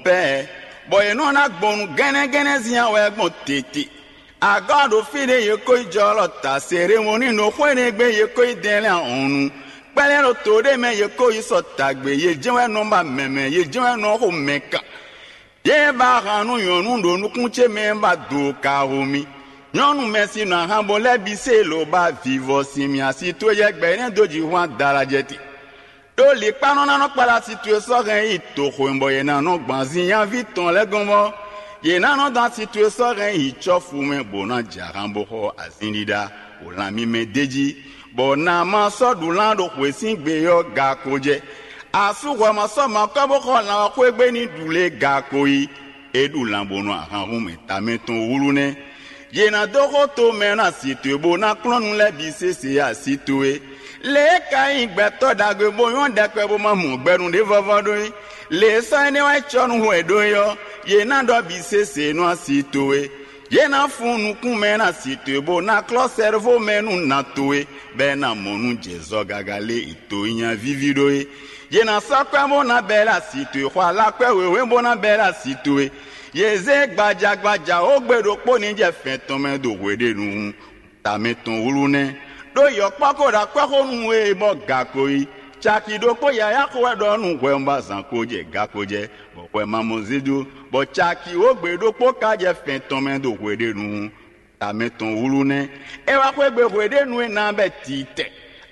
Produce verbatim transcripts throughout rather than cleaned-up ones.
Ɛɛ, bɔ yě nɔ ná gbɔn nǔ gɛ́nɛ́gɛ́nɛ́ zin wɛ gbɔn tete. Agɔ́ ɖo fí ɖé yě ko yi jɔ lɔ ta Selemɔni ɖo xwé ɖé gbe yě ko yi dɛn lɛ́ɛ ahɔnnu. Kpɛ́lɛ́ ɖo to ɖé mɛ yě ko yi sɔ tagbe, yě jɛ́n wɛ nɔ ba mɛmɛ, yě jɛ́n wɛ nɔ xo mɛ kan. Yě ba han nú nyɔ̌nu ɖo nukún ce mɛ ba do ka ho mì. Nyɔ̌nu mɛ si nɔ ahan bo lɛ́ bǐ se lǒ ba vivɔ sin mì asi towe jɛ gbɛ énɛ́ dó jǐ hwan dalajɛ te. Ɖó likpánɔ ná nɔ kpáɖó asi towe sɔ́ hɛn yi toxo bɔ yě ná nɔ gbɔn azin nyaví tɔn lɛ́ɛ gɔ́n mɔ́. Yě ná nɔ dɔn asi towe sɔ́ hɛn yi cɔ́fu mɛ bó ná jɛ ahan bó xɔ azin ɖiɖa ɖo lan mímɛ́ d'é jí, bɔ na ma sɔ́ ɖu lan ɖo xwě sín gbe ɔ́ ga ko jɛ. Asú hwɛ ma sɔ́ ma kɔ́ bó xɔ lan ɔ́ xwé gbe ní ɖu lě ga ko yi. É ɖu lan bónú ahan hún mɛ tamɛ tɔn wlú nɛ́. Yě ná dó xó to mɛ ná asi towe bó ná kplɔ́n nú lɛ́ɛ bǐ sésé asi towe. Lě e ka nyí gbɛtɔ́ ɖagbe bó nyɔ́ ɖɛkpɛ bó ma mɔ gbɛnu ɖé vɔ́vɔ́ ɖó é. Lě e sɔ́ énɛ́ wá cɔ́ nú hwɛ ɖó é ɔ́, yě ná ɖɔ bǐ sésé nú asi towe. Yě ná fún nukún mɛ ná asi towe bó ná klɔ́ sɛ́rvó mɛ nú nǎ towe, bɔ é ná mɔ nú jɛ zɔ gaga lé e to nyi nyavíví ɖó é. Yě ná sɔ́ kwɛ́ bó ná bɛ́ lɛ́ asi towe, xɔ alákwɛ́ wěwé bó ná bɛ́ lɛ́ asi towe. Yě zé gbaja gbaja ó gbe ɖokpó ní jɛ fɛn tɔn mɛ ɖo hweɖénu hun. Tamɛ tɔn wlú nɛ́. Ɖó yɔ̌kpɔ́ ko ɖo akwɛ́ xó nú we bɔ ga ko yi. Caki ɖokpó yǎyá xo wɛ ɖɔ nú hwɛ un ba zǎn ko jɛ ga ko jɛ, bɔ hwɛ ma mɔ zídú, bɔ caki wǒ gbe ɖokpó ka jɛ fɛn tɔn mɛ ɖo hweɖénu hun. Tamɛ tɔn wlú nɛ́. É wá xwé gbe hweɖénu e ná bɛ titɛ.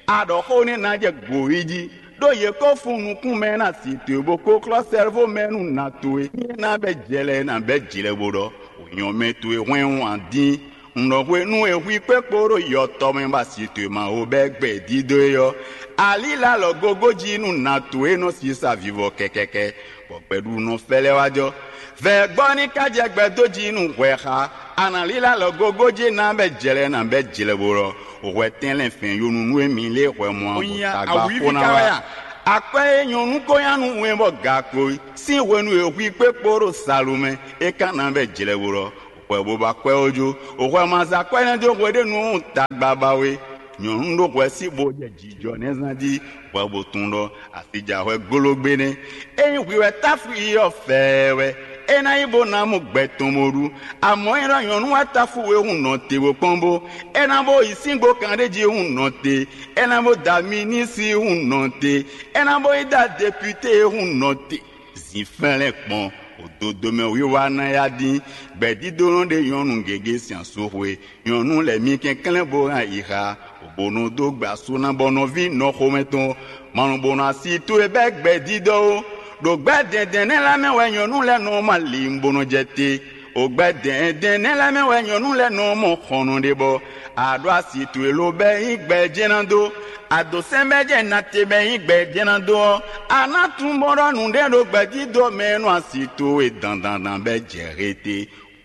A ɖɔ xó nɛ́ ná jɛ gǒ yi jí, ɖó yě ko fún nukún mɛ ná si towe bó ko klɔ́ sɛ́lvó mɛ nú nǎ towe. Ní é ná bɛ jɛ lɛ́ɛ ná bɛ jlɛ bó ɖɔ: Wǒ nyɔ́ mɛ towe hwɛ́n wǎn dín. Un ɖɔ hwenu e hwi kpé kpo ɖo yɔtɔ mɛ bɔ asi towe ma ho bɛ́ gbɛ dídó é ɔ́, alílá lɔ gogo jí nú nǎ towe nɔ sisa vivɔ kɛkɛkɛ, bɔ gbɛɖunɔ fɛ́lɛ́ wá jɔ. Vɛ̌gbɔ́ ní ka jɛ gbɛ dó jí nú hwɛ xa. A nǎ lílá lɔ gogo jí ná bɛ jlɛ ná bɛ jlɛ bo lɔ. Hwɛ tɛnlɛ́n fɛn yonunu e mi lé hwɛ mɔ abɔtagba xó ná wá. Akwɛ́ e nyɔ̌nu ko nya nú wɛn bɔ ga ko sín hwenu e hwi kpé kpo ɖo salomɛ, é ka ná bɛ jlɛ bo lɔ. Hwɛ bo ba kwɛ́ ó jó. Hwɛ ma za kwɛ́ ná jó hweɖénu tagba ba we. Nyɔ̌nu ɖo hwɛ sí bo jɛ jijɔ nɛ́ zán jí, hwɛ bo tunwun ɖɔ asi ja hwɛ góló gbé nɛ́. Ényí hwi wɛ táfu yi ɔ́ fɛɛ wɛ, é ná nyí bó ná mɔ gbɛ tɔn bó ɖu. Amɔ̌ é ɖɔ nyɔ̌nu wɛ táfu we hun nɔ te bó kpɔ́n bó, é ná bó yi síngbó kan ɖé jí hun nɔ te, é ná bó da mi ní sí hun nɔ te, é ná bó yi da deputé hun nɔ te. Zǐnflɛ́n gbɔn òdodo mɛ wiwa ná yá dín. Gbɛ̌dídónɔ ɖe nyɔ̌nu gěgé sin asú xwe. Nyɔ̌nu lɛ́ɛ mi kɛnklɛ́n bó hɛn ayixa, bó nɔ dó gbe asú ná bɔ nɔví nɔxomɛ tɔn ma nɔ bó nɔ asi towe bɛ́ gbɛ̌dídɔ́ ó. Ɖo gbɛ́ dɛ̌ndɛ̌n nɛ́ lɛ́ɛ mɛ wɛ nyɔ̌nu lɛ́ɛ nɔ ma lǐn bó nɔ jɛ te. Ɖo gbɛ́ dɛ̌ndɛ̌n nɛ́ lɛ́ɛ mɛ wɛ nyɔ̌nu lɛ́ɛ nɔ mɔ xɔnɔ ɖe bɔ a ɖó asi towe ló bɛ́ nyí gbɛ jɛ́n ná dó. A dǒ sɛ́n bɛ́ jɛ na te bɛ́ nyí gbɛ jɛ́n ná dó ɔ́, a ná tunwun bó ɖɔ nǔɖé ɖo gbɛ̌dídó mɛ e nɔ asi towe dandandan bɛ́ jɛ he te.